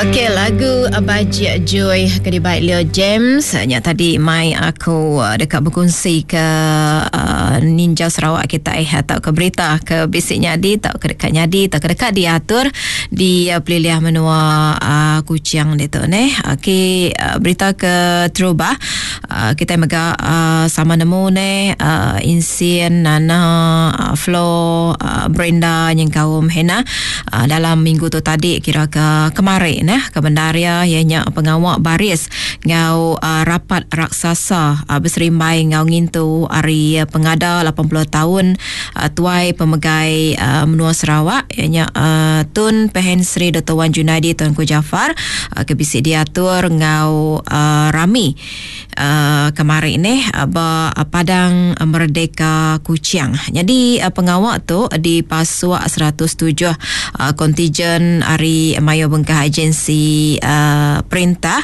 Okey, lagu Bajik Joy ke dibai Leo James nya tadi mai aku eh, deka bekunsi ke uh, Ninja Sarawak kita eh atau ke berita ke bisi nyadi atau ke deka nyadi atau ke deka diatur di uh, pelilih menua uh, Kuching ditu neh. Okey, uh, berita ke terubah uh, kita mega uh, sama nemu neh uh, Insin, Nana, uh, Flo, uh, Brenda nyengkaum Hannah uh, dalam minggu tu tadi kira ke kemari neh ke bendar iya iya nya pengawa baris enggau uh, rapat raksasa uh, beserimbai enggau ngintu hari pengada 80 taun uh, tuai pemegai uh, menua Sarawak iya nya uh, Tun Pehin Sri Dr Wan Junaidi Tuanku Jaafar uh, ke bisi diatur enggau uh, rami uh, kemari ni uh, ba Padang Merdeka Kuching. Jadi uh, pengawa tu dipasuk 107 uh, kontijen ari mayuh bengkah agensi uh, perintah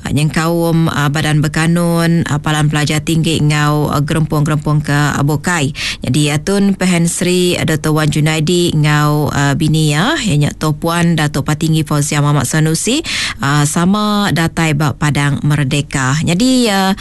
uh, nyengkaum uh, Badan Berkanun, uh, Palan Pelajar Tinggi enggau uh, gerempung-gerempung ke bukai. Jadi uh, Tun Pehin Sri Dr. Wan Junaidi enggau uh, bini iya iya nya Toh Puan Datuk Patinggi Fauziah Muhammad Sanusi uh, sama datai ba Padang Merdeka. Jadi uh,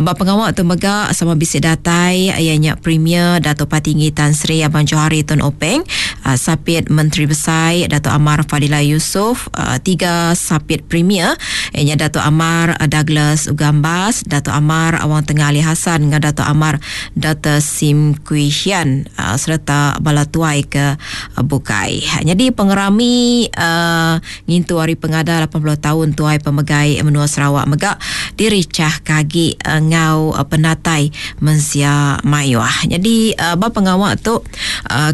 ba pengawa tu mega sama bisi datai iya nya Premier Datuk Patinggi Tan Sri Abang Johari Tun Openg, uh, Sapit Menteri Besai Datuk Amar Fadillah Yusof, uh, tiga Sapit Premier iya nya Datuk Amar Douglas Ugambas, Datuk Amar Awang Tengah Ali Hasan enggau Datuk Amar Dr. Sim Kui Hian uh, sereta bala tuai ke bukai. Nyadi pengerami uh, Ngintu Hari Pengada 80 taun Tuai Pemegai Menua Sarawak mega dirichahka agi enggau penatai mensia mayuh. Nyadi ba pengawa tu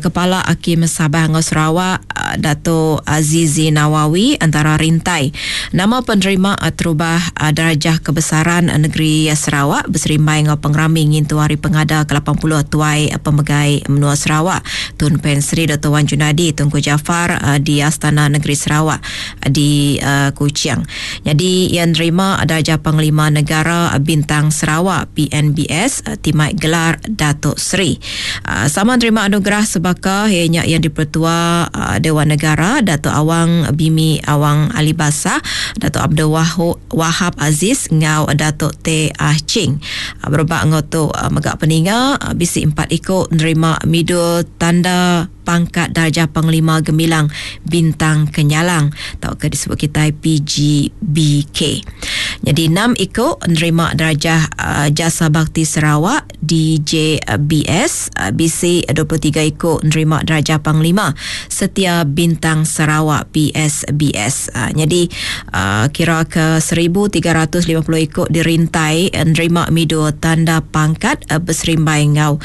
Kepala Akim Sabah enggau Sarawak Dato Azizi Nawawi antara rintai nama penerima terubah Darjah Kebesaran Negeri Sarawak beserimbai enggau pengerami ngintu Hari Pengada ke 80 Tuai Pemegai Menua Sarawak Tun Pen Sri Doktor Wan Junaidi Tunku Jaafar di Astana Negeri Sarawak di Kuching. Nyadi iya nerima Darjah Panglima Negara Bintang Sarawak PNBS ti mai gelar Datuk Seri. Sama nerima anugerah sebaka iya nya Yang Dipertua Dewan Negara Datuk Awang Bimi Awang Ali Basah, Datuk Abdul Wahab Aziz enggau Datuk Tay Ah Ching. Berebak enggau tu mega peninga bisi empat iku nerima midul tanda pangkat darjah Panglima Gemilang Bintang Kenyalang tauka disebut kitai PGBK. Nyadi enam iku nerima darjah Jasa Bakti Sarawak DJBS bisi 23 iku nerima darjah Panglima Setia Bintang Sarawak PSBS. Nyadi Kira ke 1350 iku dirintai nerima midul tanda pangkat beserimbai enggau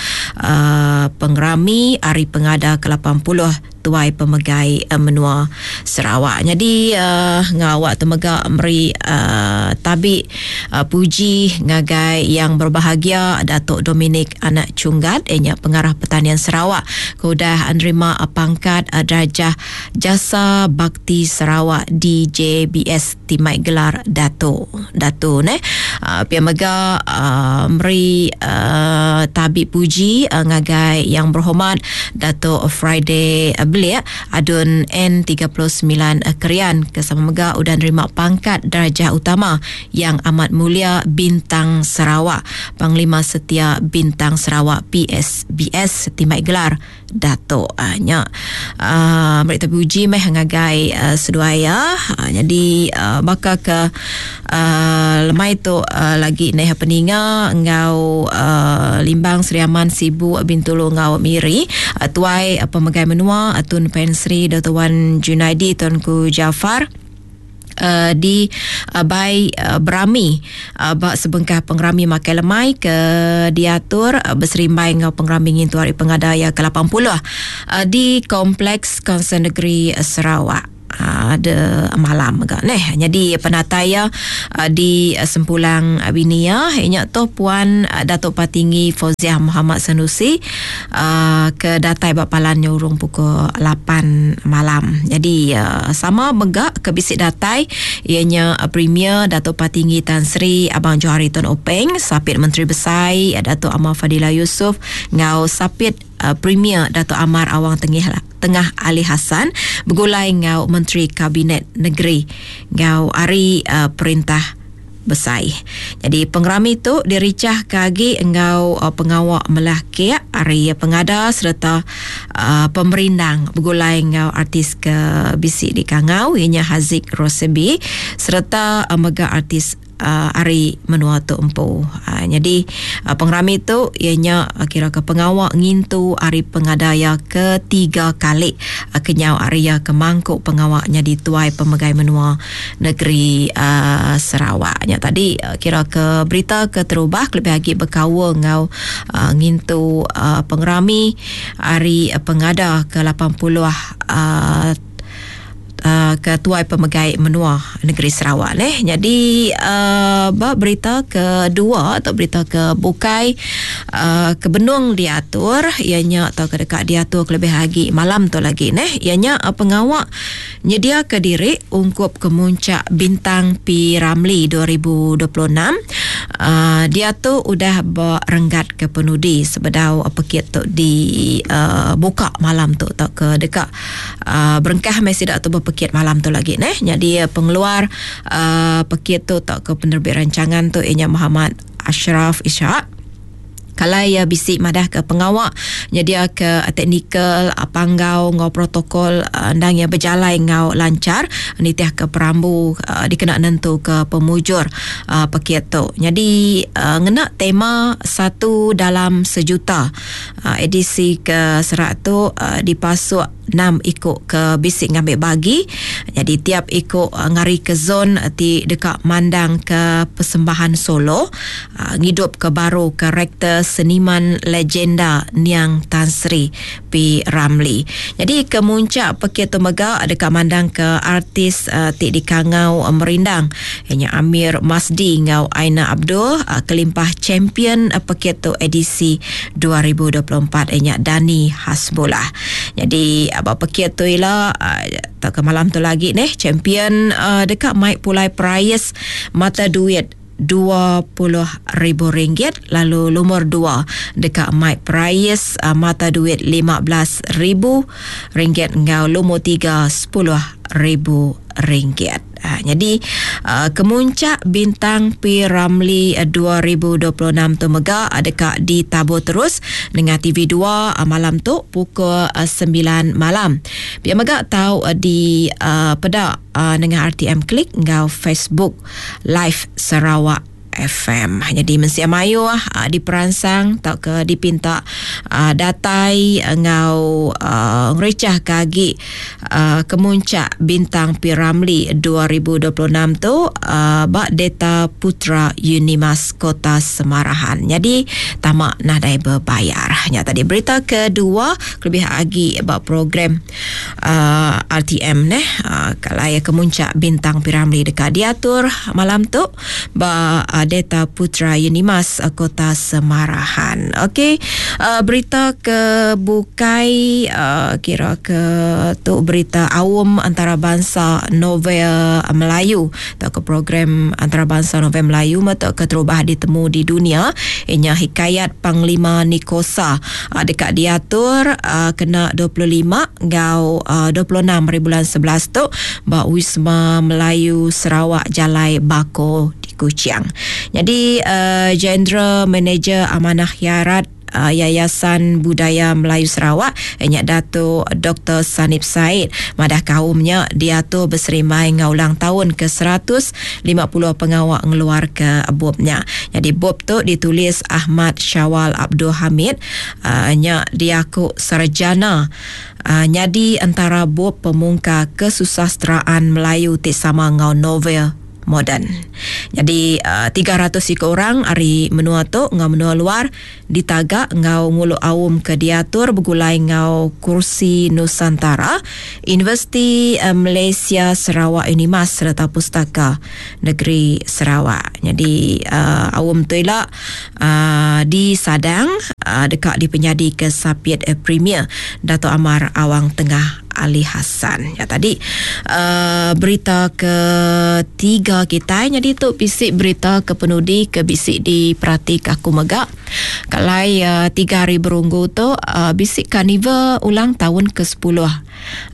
pengerami Hari Pengada ke 80 Tuai Pemegai Menua Sarawak. Nyadi enggau awak tu mega meri tabi puji ngagai Yang Berbahagia Datuk Dominic Anak Chunggat iya nya Pengarah Pertanian Sarawak ke udah nerima pangkat darjah Jasa Bakti Sarawak DJBS ti mai gelar Dato. Dato neh. Uh, pia mega uh, meri uh, tabi puji uh, ngagai Yang Berhormat Dato Friday Belik Adun N39 Krian ke sama mega udah nerima pangkat darjah utama Yang Amat Mulia Bintang Sarawak Panglima Setia Bintang Sarawak PSBS ti mai gelar Datuk uh, nya uh, meri terpuji meh ngagai uh, seduai ya. Uh, jadi uh, baka ke uh, lemai tu uh, lagi neh peninga enggau uh, Limbang Sri Aman Sibu Bintulu enggau Miri uh, tuai uh, pemegai menua uh, Tun Pen Sri Dr. Wan Junaidi Tunku Jaafar uh, di uh, bai uh, berami uh, ba sebengkah pengerami makai lemai ke diatur uh, beserimbai enggau pengerami ngintu hari pengada iya ke 80 uh, di Kompleks Kaunsil Negeri Sarawak. Ada malam mega neh. Nyadi penatai iya di Sempulang bini iya nya tu Puan Datuk Patinggi Fauziah Muhammad Sanusi ke datai ba palan nya urung pukul lapan malam. Nyadi sama mega ke bisi datai iya nya Premier Datuk Patinggi Tan Sri Abang Johari Tun Openg, Sapit Menteri Besai Datuk Amar Fadillah Yusof enggau Sapit Premier Datuk Amar Awang Tengah. Tengah Ali Hassan begulai enggau Menteri Kabinet Negeri enggau ari Perintah Besai. Nyadi pengerami tu dirichahka agi enggau pengawa melah kek ari pengada sereta pemerindang begulai enggau artis ke bisi dikangau iya nya Haziq Rosebi sereta mega artis ari menua tu empu. Nyadi pengerami tu iya nya kira ke pengawa ngintu ari pengada iya ketiga kali kenyau ari iya ke mangku pengawa nyadi tuai pemegai menua negeri Sarawak. Nya tadi kira ke berita keterubah kelebih agi bekaul enggau ngintu pengerami ari pengada ke 80 ke tuai pemegai menua negeri Sarawak neh. Nyadi uh, ba berita kedua atau berita ke bukai uh, ke benung diatur iya nya atau ke deka diatur kelebih agi malam tu lagi neh iya nya uh, pengawa nyediaka diri ungkup kemuncak Bintang P Ramlee 2026 uh, diatu udah ba renggat ke penudi sebedau pekit tu di uh, buka malam tu atau ke deka Uh, berengkah meh sida tu bepekit malam tu lagi neh. Nyadi eh, pengeluar uh, pekit tu tauka penerbit rancangan tu inya Muhammad Ashraf Ishak. Kalai iya bisi madah ke pengawa nyedia ke teknikal panggau enggau protokol endang iya bejalai enggau lanchar nitih ke perambu dikena nentu ke pemujur pekit tu. Nyadi ngena tema satu dalam sejuta Edisi ke serak tu dipasuk enam iku ke bisi ngambi bagi. Nyadi tiap iku ngari ke zon ti deka mandangka persembahan solo ngidupka baru karakter seniman legenda niang Tan Sri P. Ramlee. Nyadi ke muncak pekit tu mega deka mandangka artis ti dikangau merindang iya nya Amir Masdi enggau Aina Abdul kelimpah champion pekit tu edisi 2024 iya nya Dani Hasbullah. Nyadi ba pekit tu ila tauka malam tu lagi neh champion deka mai pulai perais mata duit RM20,000 lalu lumur dua deka mai perais mata duit RM15,000 enggau lumur tiga RM10,000. Ha, nyadi uh, kemuncak bintang P Ramlee 2026 tu mega deka ditabur terus nengah TV2 malam tu pukul 9 malam. Pia mega tau di uh, peda uh, nengah RTM Klik enggau Facebook Live Sarawak FM. Jadi mensia mayuh uh, diperansang tauka dipinta uh, datai enggau uh, ngericah ke agi uh, kemuncak Bintang P. Ramlee 2026 tu uh, ba Data Putra Unimas Kota Semarahan. Jadi tama nadai berbayar. Nya tadi berita kedua kelebih agi ba program uh, RTM neh uh, kalai kemuncak Bintang P. Ramlee deka diatur malam tu ba Data Putra Unimas Kota Semarahan. Okey, uh, berita ke bukai uh, kira ke tu berita aum antarabangsa novel Melayu atau ke program antarabangsa novel Melayu atau ke terubah ditemu di dunia inya Hikayat Panglima Nikosa uh, dekat diatur uh, kena 25 enggau uh, 26 hari bulan 11 tu ba Wisma Melayu Sarawak Jalai Bako di Kuching. Nyadi uh, General Manager Amanah Khairat uh, Yayasan Budaya Melayu Sarawak nya Dato Dr. Sanib Said madah kaum nya diatur beserimbai enggau ulang tahun ke 150 pengawa ngeluar ke bup nya. Jadi bup tu ditulis Ahmad Syawal Abdul Hamid uh, nya diaku sarjana Nyadi entara bup pemungka kesusasteraan Melayu ti sama enggau novel moden. Nyadi 300 iku orang ari menua tu enggau menua luar ditaga enggau ngulu aum ke diatur begulai enggau Kursi Nusantara, Universiti Malaysia Sarawak Unimas sereta Pustaka Negeri Sarawak. Nyadi aum tu ila disadang deka dipenyadika Sapit Premier Datuk Amar Awang Tengah. Ali Hassan. Ya tadi uh, berita ke tiga kitai nyadi tu bisi berita ke penudi ke bisi diperati ke aku mega. Kalai uh, tiga hari berunggu tu uh, bisi karnival ulang tahun ke 10.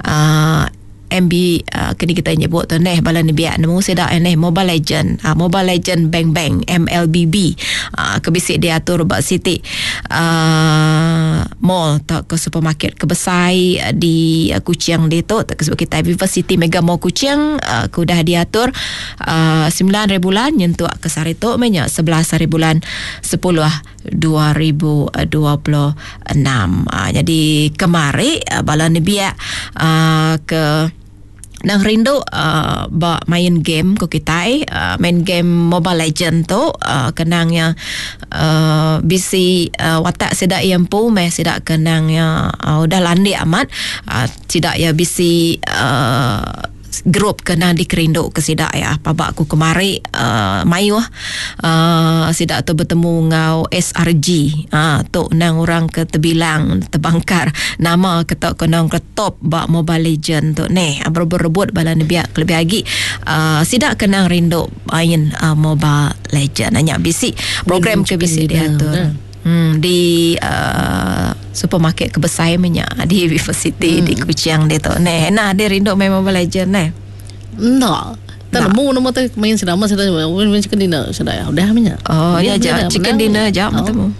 Uh, MB uh, kini kita nyebut tu neh bala nembiak nemu sida neh Mobile Legend uh, Mobile Legend Bang Bang MLBB uh, ke bisi diatur ba siti uh, mall tau ke supermarket ke besai di uh, Kuching ditu ke sebut kita Viva City Mega Mall Kuching uh, ke udah diatur uh, 9 hari bulan nyentuk ke sehari tu meh nya 11 hari bulan 10 2026. Uh, jadi kemari uh, bala nebiak uh, ke nang rindu uh, ba main game ko kitai uh, main game Mobile Legend tu uh, kenang ya uh, bisi uh, watak sida iya empu meh sida kenang ya uh, udah landik amat uh, sida ya bisi uh, Gerup ke endang dikerindu ke sida iya. Paba aku kemari uhh mayuh uhh sida tu betemu enggau SRG uhh tu endang orang ke tebilang tebangkar nama ke tau ke endang ke top ba Mobile Legend tu neh. Berebut-rebut bala nembiak kelebih agi uhh sida ke endang rindu main uhh Mobile Legend. Nya bisi program ke bisi diatur. Hmm, di uh, supermarket ke besai meh nya di Vivo City hmm. di Kuching ditu. Neh, nah dia rindu main Mobile Legend neh. Enda. Tak nemu nama tu main sedang masa tu main chicken dinner sudah ya udah menya. Oh ya ja chicken dinner ja oh. temu.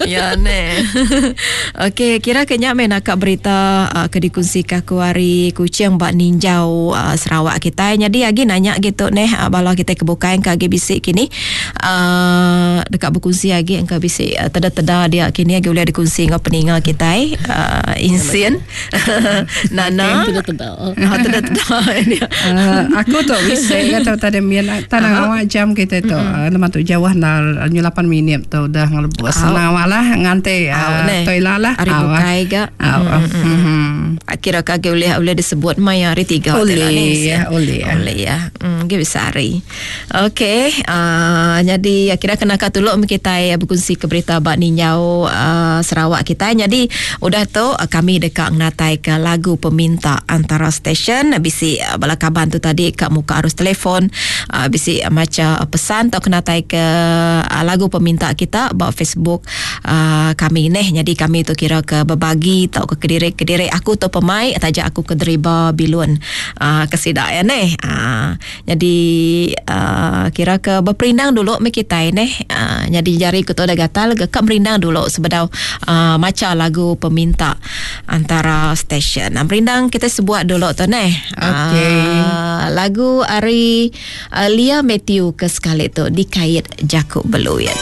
ya ne. Okey kira ke nya main akak berita uh, ke dikongsi ke aku hari Kuching ba ninjau uh, Sarawak kita. Jadi agi nanya gitu neh uh, bala kita ke bukai ke agi bisi kini. Uh, deka bekunsi agi engka bisi uh, teda-teda dia kini agi ulih dikunsi enggau peninga kitai uh, insin nana teda-teda ah teda-teda dia uh, aku tu bisi kata tadi min tanah uh-huh. awak jam kita tu uh, nama tu jauh na 8 minit tu udah ngelebus uh. awak lah nganti uh, tu lah hari bukai ga mm. Kira ke agi ulih ulih disebut maya hari tiga ulih ya ulih ya ulih ya mm, bisa hari Okey, uh, nyadi kira kena ka tuluk meh kitai bekunsi ke berita ba ninjau uh, Sarawak kitai. Nyadi udah tu kami deka ngenatai ke lagu peminta antara stesen bisi uh, bala kaban tu tadi ka muka arus telefon uh, bisi macha pesan tau kenatai ke uh, lagu peminta kita ba Facebook uh, kami neh. Nyadi kami tu kira ke bebagi tau ke kediri-kediri aku tu pemai taja aku ke deriba bilun uh, ke sida ya neh. Uh, Nyadi uh, kira ke beperindang dulu meh kitai neh. Uh, nyadi jari ku tu dah gatal ke ka merindang dulu sebedau uh, macha lagu peminta antara stesen. Uh, merindang kita sebuat dulu tu neh. Okey. Uh, lagu ari uh, Lia Matthew ke sekali tu dikait jaku beluit.